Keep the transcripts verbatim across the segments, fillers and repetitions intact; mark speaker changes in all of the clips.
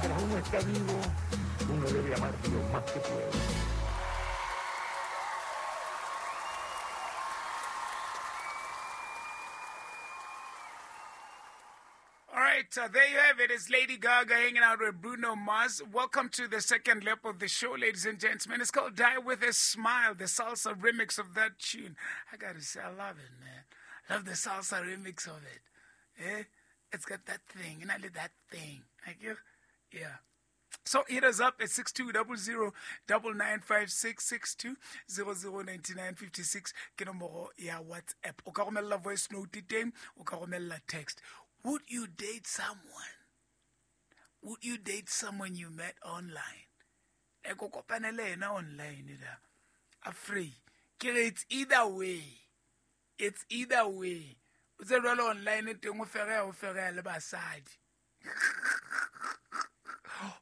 Speaker 1: Mientras uno está vivo, uno debe amar lo más que pueda.
Speaker 2: All right, uh, there you have it. It's Lady Gaga hanging out with Bruno Mars. Welcome to the second lap of the show, ladies and gentlemen. It's called Die With a Smile, the salsa remix of that tune. I gotta say, I love it, man. Love the salsa remix of it. Eh? It's got that thing, and I like that thing. Like, yeah. So hit us up at six two zero zero nine nine five six six two zero zero nine nine five six. Ke nomoro ya WhatsApp. O ka romella voice note teng, o ka romella text. Would you date someone? Would you date someone you met online? Like o kopane le yena online da. Afraid. Ke re it's either way. It's either way. O tse jwalo online teng o fereya o fereya le basadi.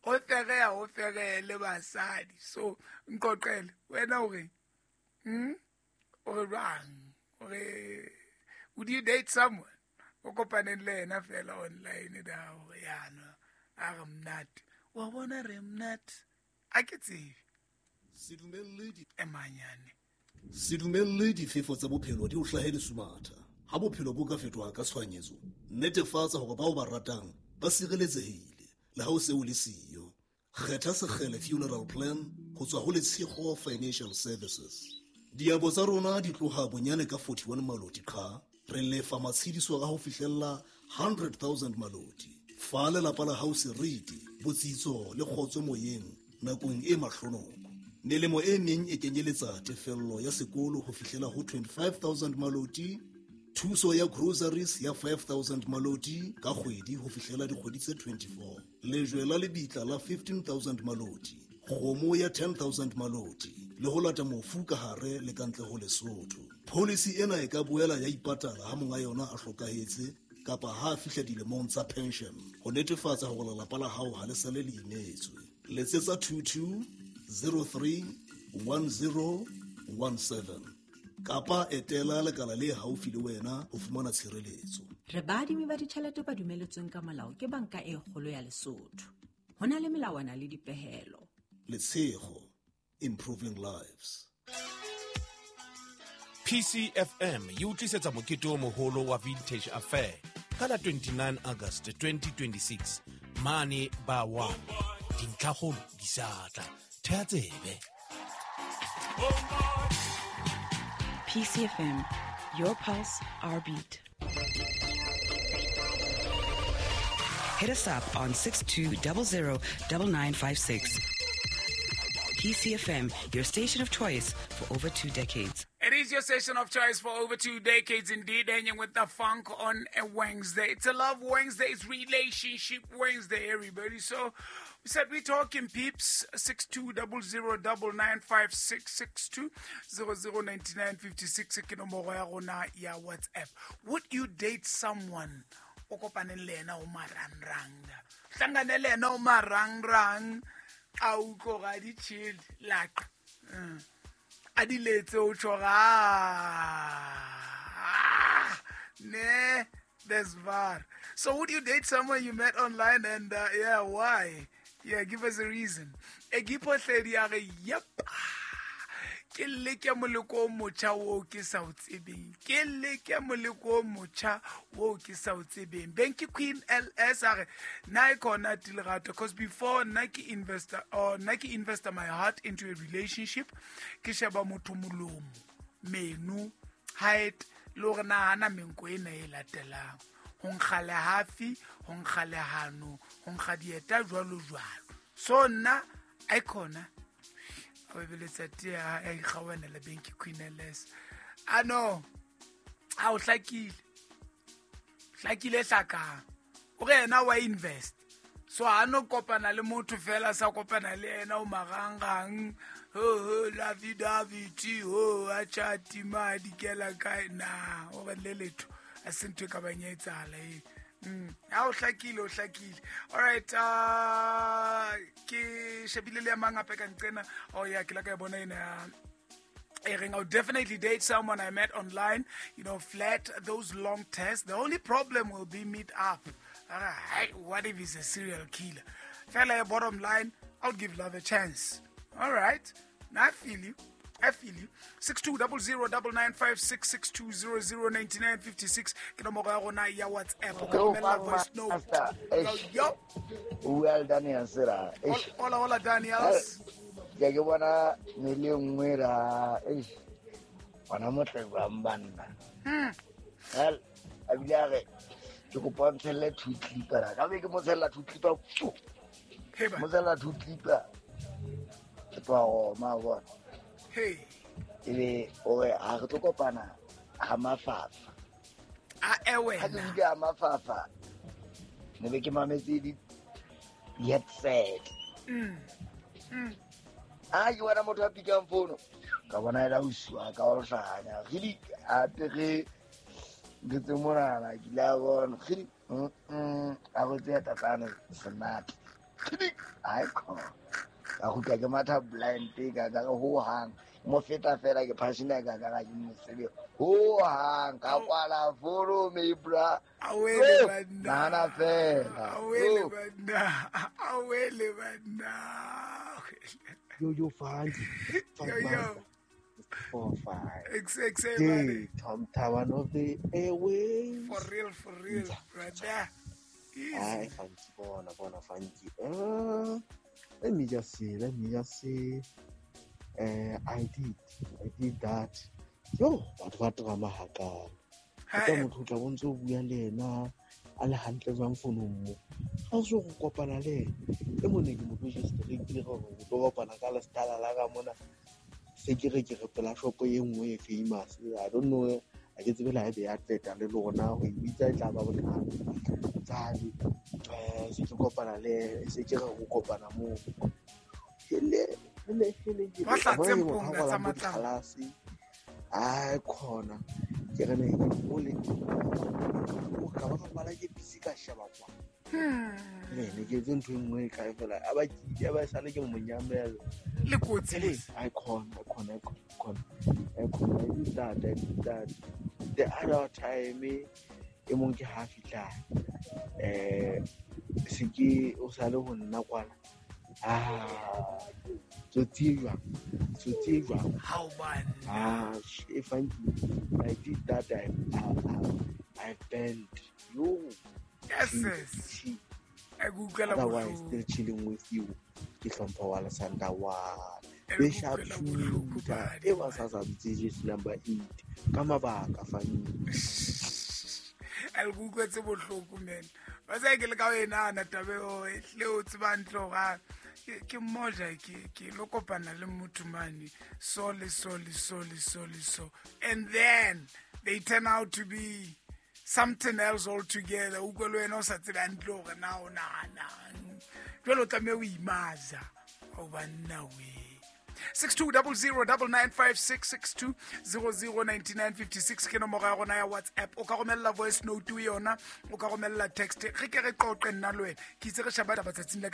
Speaker 2: O fereya o fereya le basadi. So nqoqele wena o re hmm o re jwang? O re would you date someone? O kopaneng le yena fela online da hore yana a re monate. Wa bona re monate. A ke tsebe.
Speaker 3: Se dumelle di
Speaker 2: e manyane.
Speaker 3: Se dumelle difefo tsa bophelo di o hlahe lesumatha. Ha bophelo bo ka fetoha ka tshohanyetso, netefatsa hore bao ba ratang ba sireletsehile le ha o se o le siyo. Kgetha Sekgele Funeral Plan ho tswa ho Letshego Financial Services. Diabo tsa rona di tloha bonyane ka forty-one maloti qha. Re lefa matshediso a ho fihlella one hundred thousand maloti. Fa lelapa la hao seriti, botsitso le kgotso moyeng nakong e mahlonoko. Melemo e meng e kenyeletsa tefello ya sekolo ho fihlela ho twenty-five thousand maloti, thuso ya groceries ya five thousand maloti ka kgwedi ho fihlela dikgwedi tse twenty-four, lejwe la lebitla la fifteen thousand maloti, kgomo ya ten thousand maloti, le ho lata mofu ka hare le ka ntle ho Lesotho. Policy ena e ka boela ya ipatala ha monga yona a hlokahetse kapa ha a fihla dilemong tsa pension ho netefatsa hore lelapa la hao ha le sale le imetswe. Letsetsa two two zero three one zero one seven kapa etela lekala le haufi le wena ho fumana tshireletso.
Speaker 4: Re baadimi ba ditjhelete ba dumeletsweng ka molao ke Banka e Kgolo ya Lesotho. Ho na le melawana le dipehelo.
Speaker 3: Letshego, improving lives.
Speaker 5: P C F M e utlwisetsa mokete o moholo wa Vintage Affair ka la twenty-nine August twenty twenty-six mane ba one. Dintlhakgolo di sa tla. Thea tsebe.
Speaker 6: P C F M, your pulse, our beat. Hit us up on six two zero zero nine nine five six. P C F M, your station of choice for over two decades.
Speaker 2: It is your station of choice for over two decades indeed, hanging with the funk on a Wednesday. It's a Love Wednesday, it's Relationship Wednesday, everybody. So we said we're talking peeps, six two zero zero nine nine five six six two zero zero nine nine five six ke nomoro ya rona ya WhatsApp. Would you date someone o kopaneng le yena o marangrang? Hlangane le yena o marangrang, a utlwa ga di chill laqa. A di letse o tjho ga ne there's var. So would you date someone you met online and uh, yeah, why? Yeah, give us a reason. E giphohledi ya re yep. Ke leke moleko o motjha o ke sa o tsebeng. Ke leke moleko o motjha o ke sa o tsebeng. Benki Queen L S a re na e khona Tilerato, because before nna ke investor or nna ke investor my heart into a relationship, ke sheba motho molomo, menu, height, le hore na hana menko ena e latelang. Ho nkga le hafi, ho nkga le hano, ho nkga dieta jwalo jwalo. So nna a khona o beletsa tea a ikgawana le Benki Queen L S. A no, a o hlakile. Hlakile hlakang. O re yena wa invest. So ha no kopana le motho fela sa kopana le yena o marangrang. Ho ho la vida viti ho a chati madi kela kae na o re le letho. A se ntho e ka bang e etsahala e. Mm. Ha o hlakile o hlakile. All right, uh ke shebile le ya mang hape ka nqena. Oh yeah, ke la ka e bona ena ya e reng, I'll definitely date someone I met online, you know, flat those long tests. The only problem will be meet up. What if he's a serial killer? Fella, bottom line, I'll give love a chance. All right. I feel you. I feel you. six two zero zero nine nine five six six two zero zero nine nine five six. Ke nomoro ya rona ya WhatsApp. O ka romella voice note. Yo.
Speaker 7: Well, Daniel, sir.
Speaker 2: Hola, hola, Daniels.
Speaker 7: Ke ke bona mele nngwe ra. Eish. Bona motle ba mbanna.
Speaker 2: Hmm.
Speaker 7: Well, a bile a re ke kopa ntshelle two clipper. Ka be ke mo tshella two clipper. Mo tshella two clipper. Ke tloha Roma bona.
Speaker 2: Hey.
Speaker 7: Ebe o re ha re tlo kopana ha mafafa.
Speaker 2: A ewe.
Speaker 7: Ha ke bile ha mafafa. Ne be ke mametse di headset.
Speaker 2: Mm. Mm.
Speaker 7: Ah, ke bona motho a pikang fono. Ka bona ela uswa ka o hlanya. Re a tere ntse monana ke la bona. Re mm a go tseya tatlana senate. Ai ko. Ka go ka ke matha blind ka ka ho hang. Mo feta fela ke passion ka ka ke mo sebe. Ho hang ka kwala fono me bra.
Speaker 2: Awele banna.
Speaker 7: Nana fela.
Speaker 2: Awele banna. Awele banna.
Speaker 8: Yo yo Funky.
Speaker 2: Yo yo.
Speaker 8: Four five.
Speaker 2: X X A
Speaker 8: hey, Tom Tawan of the airways.
Speaker 2: For real, for real, brother.
Speaker 8: Easy. Hi, Funky, bona, bona, Funky. Uh, let me just see. Let me just see. Uh, I did, I did that. Yo, what what drama haka? Ka motho tla bontse o bua le ena a le hantle jwang fonong mo. Ha o so go kopana le ena e mone ke mo register ke gore o tlo kopana ka lestala la ka mona. Se ke re ke re pela shopo e nngwe e famous. I don't know, a ke tsebe la ebe ya tleta le lona go ibitsa e tla ba bothata. Tsadi eh se ke kopana le se ke re go kopana mo. Hele hele hele
Speaker 2: ba tlatse mponga tsa matla.
Speaker 8: Ai khona ke re ne o le o ka ba bala ke busy ka sheba kwa.
Speaker 2: Hmm.
Speaker 8: Ne ne ke tse ntho nngwe ka fela a ba ke ba sale ke monyamela.
Speaker 2: Le kotsi.
Speaker 8: Ai khona khona khona. Ai khona I did that, I did that. The other time e mong ke ha fitla. Eh se ke o sale ho nna kwana. Ah, tsotsi jwang? Tsotsi jwang?
Speaker 2: How man?
Speaker 8: Ah, if I, I did that, I, I, I bent. Yo.
Speaker 2: Yes, yes. I Google.
Speaker 8: Otherwise, still chilling with you. Ke hlompha wa Lesanda wa. Be sharp shooter. E ba sa sa bitse number eight. Ka mabaka fane.
Speaker 2: I Google tse bohloko man. Ba sa ke le ka wena na tabe o le o tseba ntlo ga ke moja ke ke lo kopana le motho mane so le so le so le so le so and then they turn out to be something else altogether. O go le wena o sa tseba ntlo gore na o nana jwale o tlameha o imaza o banna we. Six two double zero double nine five six six two zero zero ninety nine fifty six ke nomoro ya rona ya WhatsApp. O ka romella voice note yona, o ka romella text. Re ke re qoqe nna le wena. Ke itse re sheba taba tsatsing la ka